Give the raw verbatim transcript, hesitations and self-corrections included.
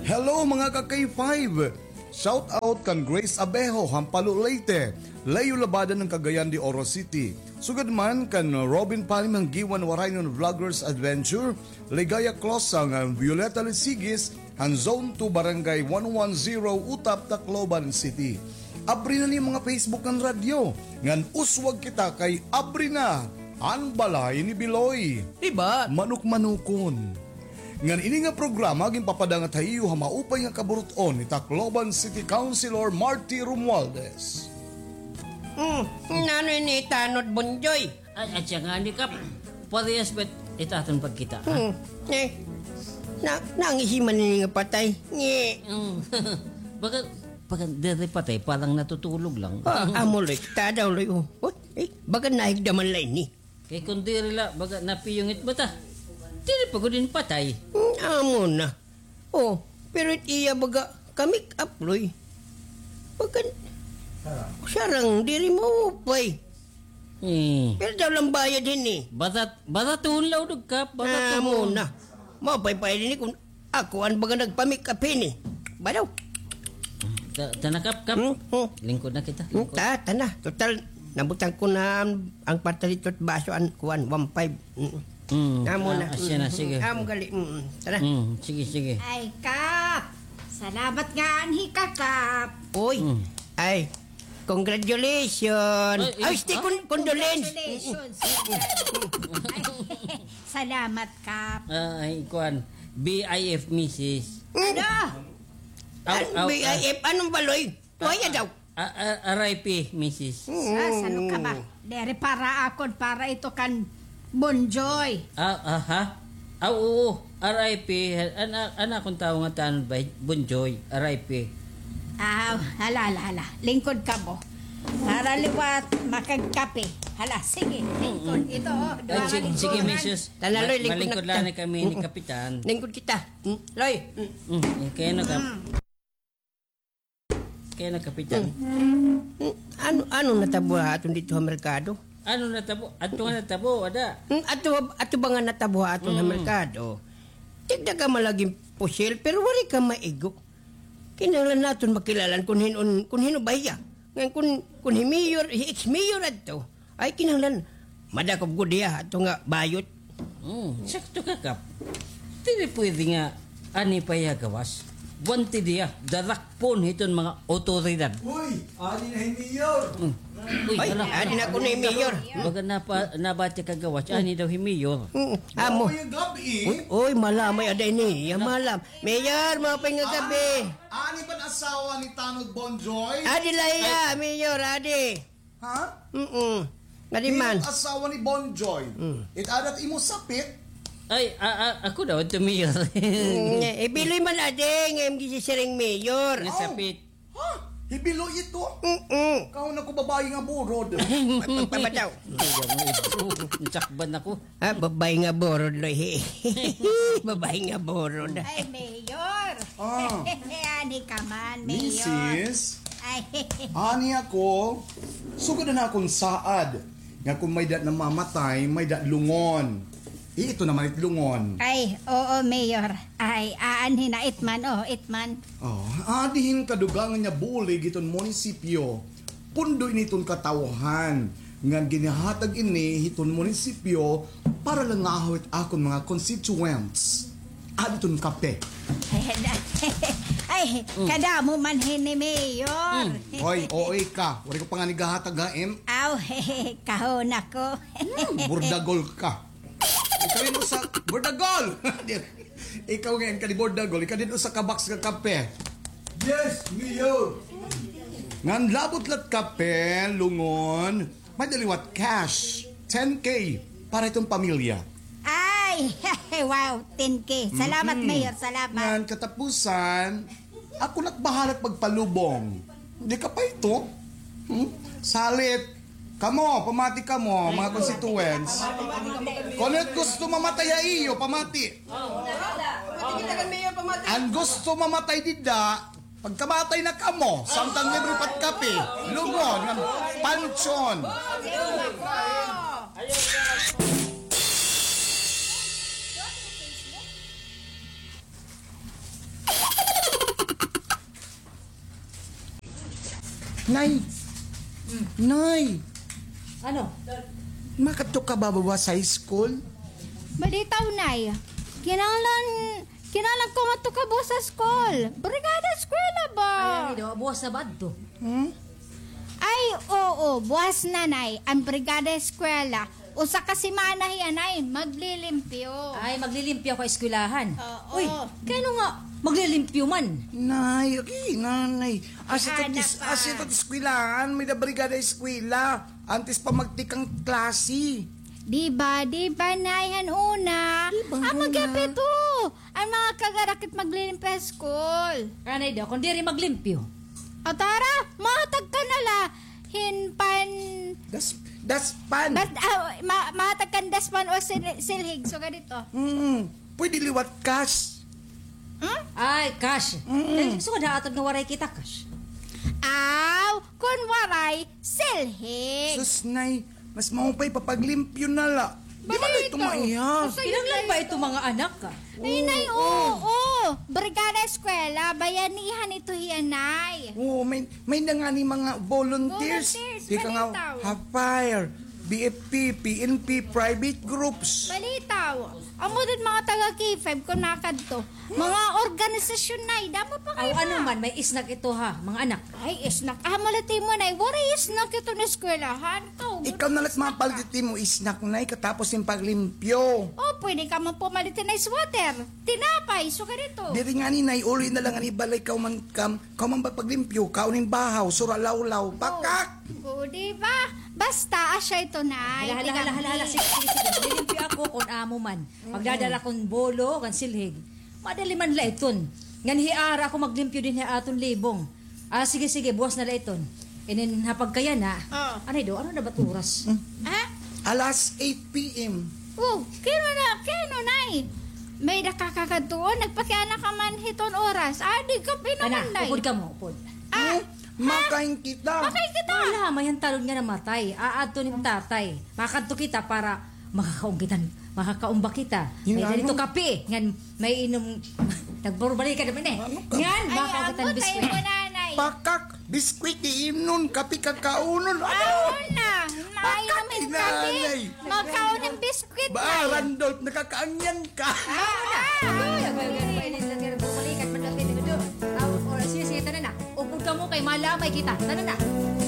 Hello, mga ka-K five! Shout out kan Grace Abejo, Hampalo, Leyte, Leo Labada ng Cagayan de Oro City. Sugad man kan Robin Palim Hanggiwan Waraynon Vloggers Adventure, Ligaya Closang, Violeta Lisigis, han Zone two, Barangay one one zero, Utap, Tacloban City. Abri na an iyo mga Facebook ngan radyo, ngan uswag kita kay abri na an balay ni Biloy. Diba? Manukmanukon. Ngan ini nga programa ginpapadangat ha iyo ha maupay nga kaburut-on ni Tacloban City Councilor Marty Romualdez. Hmm, nano ini tanod, Bonjoy? Ay, at siya nga ni Kap, parehas bet ita aton pagkita, ha? Hmm, eh, na, nangisi man ini nga patay. Nge. Hmm. Baga, baga, diri patay, parang natutulog lang. Ah, amo, Loy. Tada, Loy, oh. Oh, eh, baga nahigda man la ini. Kay kun diri la, baga napiyungit ba ta? Diri pa gud ini patay. Hmm, amo na. Oh, pero it iya baga ka-make up, Loy. Baga, sarang diri maupay. Hmm. Pero daw lang bayad hini. Barat, baratuhon la, udog, Kap, baratuhon. Ah, amo na. Maupay pa ini kun ako an baga nagpa-make up hini. Ba daw? Ta-, tana, Kap, Kap. Hmm, hmm. Lingkod na kita, hmm, lingkod. Ta-, tana. Total, nabutang ko na an, an kwarta didto ha baso, an kuan, one five. Mm. Mm. Amo na. Ah, siya na, sige. Amo gali. Mm, tara. Mm, sige, sige. Ay, Kap! Salamat nga anhi ka, Kap. Oy. Mm. Ay, congratulations. Ay, ay, ay, stay, ah? Con-, condolence. Congratulations. Ay, salamat, Kap. Ah, ay, kuan. B I F, misis. Ano? Aw, aw, B I F, ah. Anong baloy? Tuwaya daw. Ah, ah, R I P, misis. Mm. Ah, sano ka ba? Diri para akon, para ito kan Bonjoy. Ah, aha. Ah, oo. R I P, an, an akon tawo nga tanod ba, Bonjoy, R I P. Ah, hala, hala, hala. Lingkod kamo. Para liwat, makagkape. Hala, sige, lingkod. Mm. Ito, oh, ay, duha sige, nga sige, lingkod. Misis. Tana, Loy, lingkod na kita. Ma-, malingkod la kami ni Kapitan. Lingkod kita. Mm, Loy. Mm. Mm, kaya na ka. Mm. Kaya na, Kapitan. Hmm. Hmm. Ano, ano natabo ha aton didto ha merkado? Ano natabo? Ato nga natabo, ada. Hmm, ato, ato ba nga natabo ha aton ha merkado? Tigda ka man lagi hin pusil, pero waray ka maigo. Kinahanglan naton makilala kun hin-o, kun hin-o ba hiya. Ngan kun, kun hi mayor, hi ex-mayor adto. Ay, kinahanglan madakop gud hiya ato nga bayot. Hmm, sakto ka, Kap. Diri pwede nga ani pa hiya gawas. Wanted hiya, darakpon hiton mga awtoridad. Uy, ani na hi Mayor. Hmm. Uy, ay, hala. Ani na kuno hi Mayor. Baga napa-, nabati ka gawas, ani daw hi Mayor. Hmm, amo. Uy, uy, malamay ada ini. Malam. Mayor, maupay nga gab-i. Ani ba an asawa ni Tanod Bonjoy? Adi la hiya, Mayor, adi. Ha? Mm-mm. Ngadi man. Hin-o an asawa ni Bonjoy? Mm. It ada it imo sapit? Ay, a-, a-, ako daw ito, Mayor. Mm, eh, Biloy man adi, nga imo gisisiring Mayor. Nga sapit. Ha? Hi Biloy ito? Mm-mm. Kahon ako babaye nga burod. Pabataw. Sakban ako. Ah, babaye nga burod, Loy. Babaye nga burod. Ay, Mayor. Ah. Ani ka man, Mayor. Misis, ay, ani ako, sugad na akon saad, nga kon may-ada namamatay, may-ada lungon. Ito naman it lungon. Ay, oo, Mayor. Ay, aanhi na it man, oh, it man. Oh, adi hin kadugangan nga bulig hiton munisipyo. Pundo ini hiton katawhan, ngan ginhahatag ini hiton munisipyo para la ngahaw it akon mga constituents. Adi hiton kape. Ay, kadamo man hini, Mayor. Mm. Hoy, O A ka. Waray ko pa ngani gahatag ha im. Aw, kahon ako. Mm, burdagol ka. Ikaw hin usa, burdagol! Ikaw ngay-an kadi burdagol, ikaw hin usa ka box nga kape. Yes, Mayor! Ngan labot la it kape, lungon, may-ada liwat cash, ten K, para hiton pamilya. Ay, wow, ten K. Salamat, Mayor, salamat. Ngan katapusan, ako na it bahala pagpalubong. Di ka pa ito? Hmm? Salit. Kamo, pamati kamo, mga constituents. Kon it gusto mamatay ha iyo, pamati. An gusto mamatay dida, pagkamatay na kamo, samtang libre pa it kape, lungon, ngan pansyon. Nay! Nay! Ano? Makadto ka ba buwas ha school? Balitaw, Nay. Kinahanglan, kinahanglan ko ngadto ka buwas ha school. Brigada eskwela ba? Ay, ano daw, buwas na ba adto? Hmm? Ay, oo, buwas na, Nay, an brigada eskwela. Usa ka semana hiya, Nay, maglilimpyo. Ay, maglilimpyo ako ha eskwelahan. Oo. Uy, kay ano nga maglilimpyo man? Nay, okay, Nanay. Asya ito, asya ito eskwelahan, may-ada brigada eskwela. Antes pa magtikang klase. Di ba, di ba, Nay, han una? Di ba, amo gihap ito. An mga kagarakit maglilimpyo ha school. Anay daw, kon diri maglimpyo. O tara, mahatag ka na la hin pan... Das, daspan. Bas, ah, ma, mahatag kan daspan o sil, silhig. So, ganito. Mm, pwede liwat cash. Hmm? Ay, cash. Mm. Kay sugad ha aton nga waray kita cash. Aw, kon waray, silhig. Sus, Nay, mas maupay pa paglimpyo na la. Di man ito maiha. Kinahanglan ba ito mga anak ka? Ay, Nay, oo. Brigada eskwela, bayanihan ito hiya, Nay. Oo, may, may-ada ngani mga volunteers. Volunteers, ika nga, balitaw. Ha fire, B F P, P N P, private groups. Balitaw. Amo din mga taga K five kon makadto. Mga organisasyon, Nay, damo pa kay ano man, may snack ito ha, mga anak. Ay, snack. Amo la it imo, Nay, waray snack ito nga eskwelahan. Ikaw na la it mapalit it imo snack, Nay, katapos hin paglimpyo. O, pwede ka man pumalit hin ice water. Tinapay, sugad ito. Diri ngani, Nay, uli na la ngani balay, kahuman kam, kahuman ba paglimpyo, kaon hin bahaw, sura lawlaw, pakak. O, di ba? Basta, asya ito, Nay. Hala, hala, hala, hala. Sige, sige, sige. Maglilimpyo ako kon amo man. Magdadala kon bolo, kan silhig. Madali man la iton. Ngan hiara ako maglimpyo dinhi ha aton libong. Ah, sige, sige, buwas na la iton. Inin ha pagkayana. Anay daw, ano na ba it oras? Ha? Alas eight P M. O, kay ano na, kay ano, Nay? May-ada ka kakadtuon, nagpakiana ka man hiton oras. Ah, di ka pinaman, Nay. Upod kamo, upod. Ah, makain kita. Makain kita. Wala, may-an talon nga namatay. Aadton hin tatay. Makadto kita para makakaon kita, makakaon ba kita? May-ada dito kape, ngan may inom, nagburbalikan naman eh. Ngan, makakaon kita hin biskwit. Pakak, biskwit iinom, kape kakaunon. Ano na? Pakak, mainom hin kape, makaon hin biskwit. Ba, Randolph, nakakaangyan ka. Ah, ah, ah. Sige, sige, tana na. Upod kamo kay malamay kita. Tana na.